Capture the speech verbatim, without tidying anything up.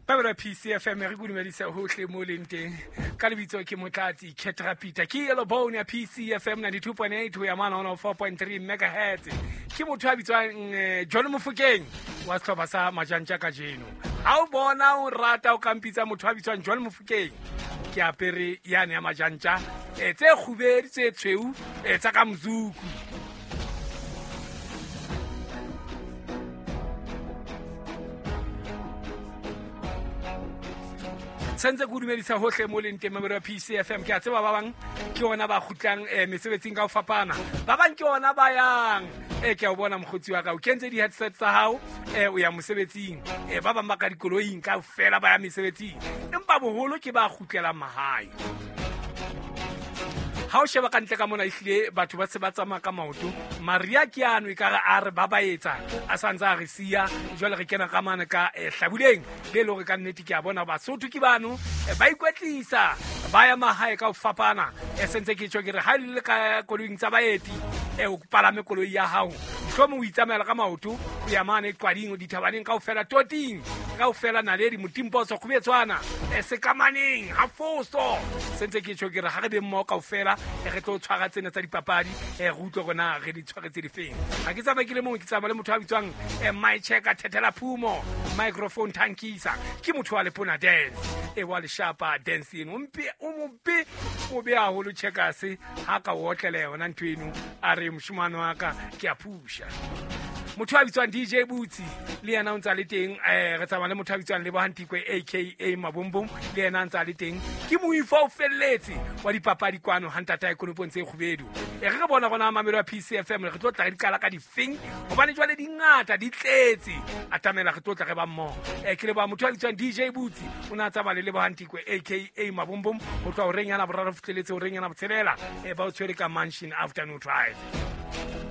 Babela P C F M re dumedisa hohle mo leng teng ka lebitso ke Motlatsi Ketra Peter ke Yellow Bone ya P C F M ninety-two point eight ho ya mane one oh four point three megahertz. Ke motho a bitswang John Mofokeng wa sehlopha sa Majantja kajeno. Ha o bona o rata o kampitsa motho a bitswang John Mofokeng ke apere yane ya Majantja tse kgubedu tse tshweu tsa ka mzuku. Sentse ke dumedisa hohle mo leng teng mamelo ya P C F M. Ke a tseba ba bang ke ona ba kgutlang mesebetsing ka ho fapana, ba bang ke ona ba yang. E ke a o bona mokgotsi wa ka o kentse di-headset tsa hao, o ya mosebetsing. Ba bang ba ka dikoloing kaofela ba ya mesebetsing, empa boholo ke ba kgutlelang mahae. Ha o sheba ka ntle ka mona ehlile batho ba se ba tsamaya ka maoto. Maria ke ano ekare a re ba ba etsa a santse a re siya. Jwale re kena ka mane ka hlabuleng le le hore ka nnete ke a bona Basotho ke bano ba ikwetlisa ba ya mahae ka ho fapana. E sentse ke tjho ke re ha le ka koloing tsa baeti o palame koloi ya hao, mohlomong o itsamaela ka maoto o ya mane qwading dithabaneng kaofela toting kaofela naledi motimposo kgubetswana sekamaneng ha foso. Sentse ke tjho ke re ha re be mmoho kaofela re tlo tshwara tsena tsa dipapadi re utlwe hore na re di tshwaretse difeng. Ha ke tsamaye ke le mong, ke tsamaya le motho a bitswang my checker Thethela Phumo microphone tankisa. Ke motho wa Lepona dance e wa leshapa dance eno o mpe o mope o be haholo checkers ha ka o otlele yona ntho eno a re moshomane wa ka ke a phusha. Motho a bitswang D J Butsi le yena o ntsa le teng. Re tsamaya le motho a bitswang Lebohang Tikwe aka Mabombom le yena ntsa le teng. Ke moifo o felletse wa dipapadi kwano ha ntata ekonopong tse kgubedu. E re re bona rona mamelo ya P C F M re tlo tla re di qala ka difeng hobane jwale di ngata di tletse. Atamela re tlo tla re ba mmoho. Ke leboha motho a bitswang D J Butsi o na tsamaya le Lebohang Tikwe aka Mabombom ho tloha horeng yana boraro fihleletse horeng yana botshelela ba o tshwere ka Mansion Afternoon Drive.